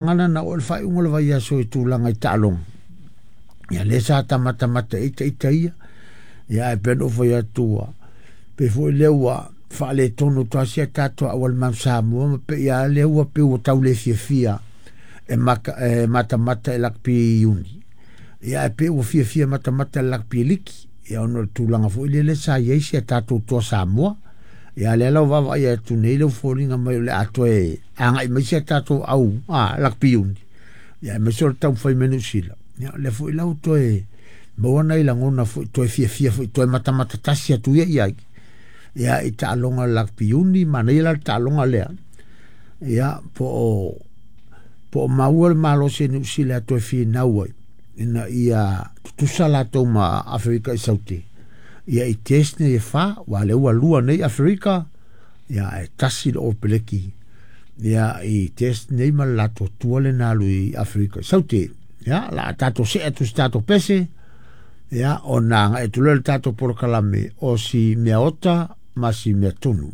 Gana na oo i le faaiuga o le vaiaso i tulaga i taaloga. Ia lea sa tamatamata ai ita ia. Ia ae pei ona ou fai atu ua pei foi lea ua faaletonu atu lava si a tatou auala Mount Samoa ma pei lava lea ua pei ua tau le fiafia e, maka, e matamata i lakpi Iuni. Ia ae pei ua fiafia matamata i lakpi liki. Ia ona o le tulaga foi lele sa i ai si a tatou toa Samoa. Ia lea la ua vaavaai atu nei le foliga mai o le a toe agai mai si a tatou au a lakpi Iuni. Ia aemaise o le taumafai mai Niu Sila. Ia lea foi la ua toe maua nai lagona foi toe fiafia foi toe matamata tasi atu ia i ai. Ia i taaloga lakpi Iuni, manaia la le taaloga lea. Ia po o maua le malosi e Niu Sila e toe finau ai ina ia tutusa latou ma Aferika i Saute. Ia i test nei e fa, ua lea ua lua nei Aferika, ia e tasi le Opeleki. Ia i test nei ma le latou tua le na alu i Aferika i Saute. Ia la tatou see atu si tatou pese, ia ona agai atu loa le tatou polokalame o si mea ota ma si mea tunu.